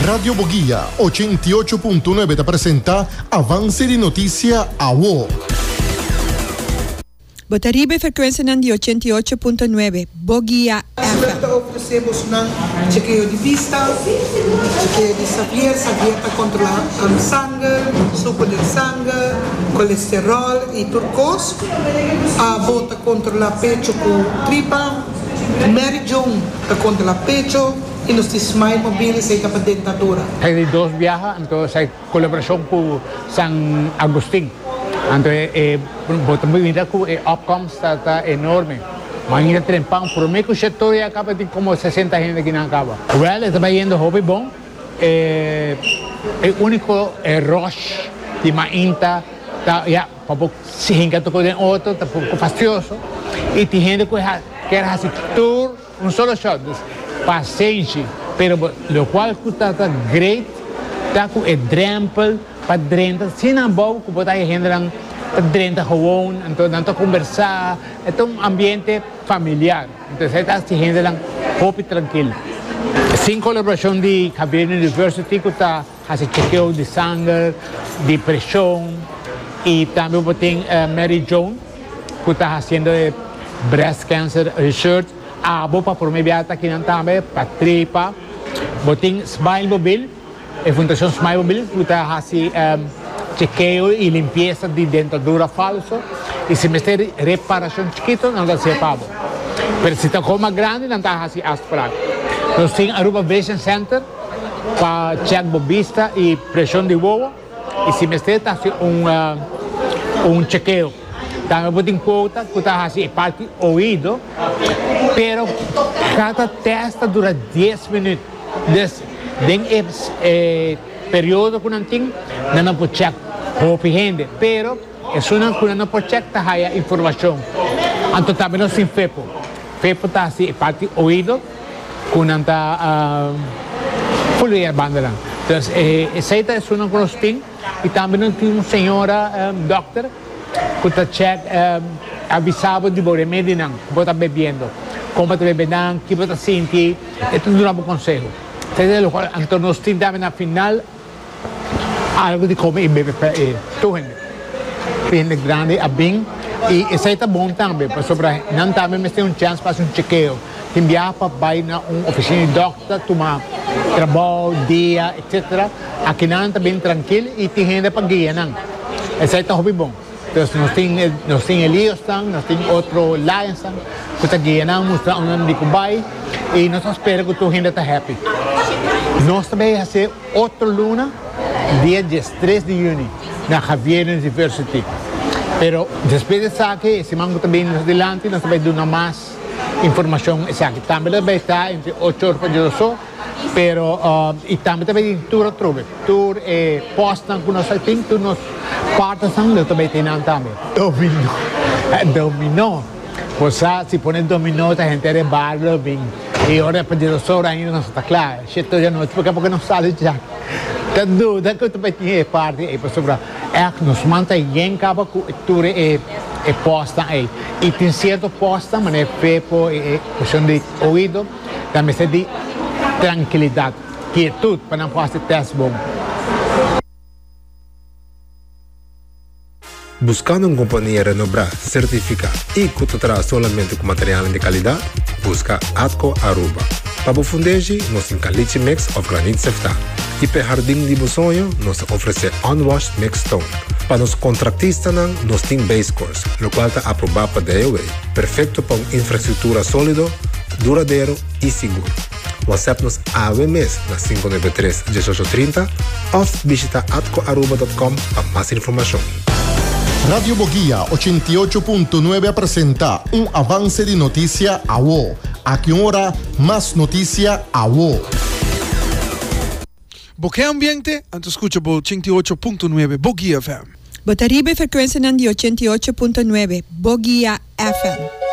Radio Boguia 88.9 ta presenta Avance di Noticia Awo. Bo ta riba e frekuensianan di 88.9 Boguia FM. Ta ofresé bosonan chekeo di bista, chekeo di Xavier, Xavier ta kontrolá sanger, suku den sanger, kolesteròl i tur kos. Abo ta kontrolá pecho ku tripa, Mary Joan ta kontrolá pecho i nos tin Smile Mobile esei ta pa dentadura. Esaki di dos biaha, anto esaki kolaborashon ku San Agustin. Anto e bo ta mira ku e opkomst ta ta enorme. Mainta trempan prome ku shetor ya kaba tin komo sesenta hende ki nan kaba. Wèl e ta bai yendo hopi bon. E e uniko e rush di mainta ta ya pa bo hinka toko den otro ta poko fastioso i tin hende ku kier hasi tur Un solo shot, dus pasenshi, pero bo locual cu ta ta great ta cu e drempel pa drenta asina abou cu bo ta haña hendenan ta drenta gewoon, anto nan ta combersa, e ta un ambiente familiar, entonces esey ta haci hendenan hopi trankil. Sin colaboracion di Xavier University cu ta haci chekeo di sanger, di presion y tambe bo tin Mary Joan cu ta haciendo e breast cancer research. Abo pa prome biaha ta kinan tambe pa tripa. Bo tin Smile Mobil, e fundacion Smile Mobil cu ta haci chekeo y limpieza di dentadura falso y si mester reparacion chikito nan ta haci pa bo. Pero si ta coma grandi nan ta haci afspraak. Nos tin Aruba Vision Center pa check bo bista y presion di wowo y si mester ta haci un un chekeo. Tambe bo tin quota cu ta haci e parti oido pero cada test ta dura dies minuut. Dus den e e periodo cu nan tin nan no por check hopi hende pero esunnan cu nan no por check ta haya informacion. Anto tambe nos tin fepo. Fepo ta haci e parti oido. Ku nan ta fulbia e bandanan. Entonces esei ta esunnan ku nos tin i tambe nos tin un señora dòkter ku ta chèk avisa bo di bo remedinan ku bo ta bebiendo, kon bo ta bebe nan, ki bo ta sinti, e ta duna bo konseho. Esei ta lokual anto nos tin tambe na final. Algo di come y bebe pa e tur hende. E hende grandi a bin y esey ta bon tambe pasobra nan tambe mester un chance pa haci un chekeo. Tin biaha pa bay na un oficina di dokter tuma trabao, dia, etc. Aki nan ta bin trankil y tin hende pa guia nan. Esey ta hopi bon. Entonces nos tin nos tin Eliosnan, nos tin otro Lionsnan cu ta guia nan, mustra unda nan di cu bay y nos ta spera cu tur hende ta happy. Nos ta bay haci otro luna dia diestres di juni na Xavier University. Pero despues di esaki e siman cu ta bini nos dilanti nos ta bay duna mas informacion esaki. Tambe lo bay ta entre ocho or pa dioso. Pero y tambe ta bay tin tur atrobe, tur e postnan cu nos a tin, tur nos partnersnan lo ta bay tin nan tambe. Dominó, dominó, bo sa si pone dominó ta henter e bar lo bin y ora pa di dos ora ainda nos ta cla, shit tur anochi porque porque nos sali dja. Ta duda cu ta bay tin e parti ey pasobra echt nos man ta yen caba cu tur e postnan ey y tin cierto postnan manera e fepo y e cuestion di oido. Ta mester di trankilidat, kietud pa nan por hasi tèst bon. Buskando un kompania renobrá, sertifiká i ku ta traha solamente ku materialnan di kalidat? Buska Atco Aruba. Pa bo fundeshi, nos tin caliche mix òf granit seftá. I p'e hardin di bo soño, nos ta ofresé unwashed mixed stone. Pa nos kontraktistanan, nos tin base course, lokual ta aprobá pa DOW, perfekto pa un infrastruktura sólido, duradero i sigur. WhatsApp nos awe mes na 593 1830 òf bishita atcoaruba.com pa mas informashon. Radio Boguia 88.9 a presenta un avance di noticia awo. Aki un ora, mas noticia awo. Bo ke ambiente? Anto skucha bo 88.9 Boguia FM. Bo ta riba e frekuensianan di 88.9 Boguia FM.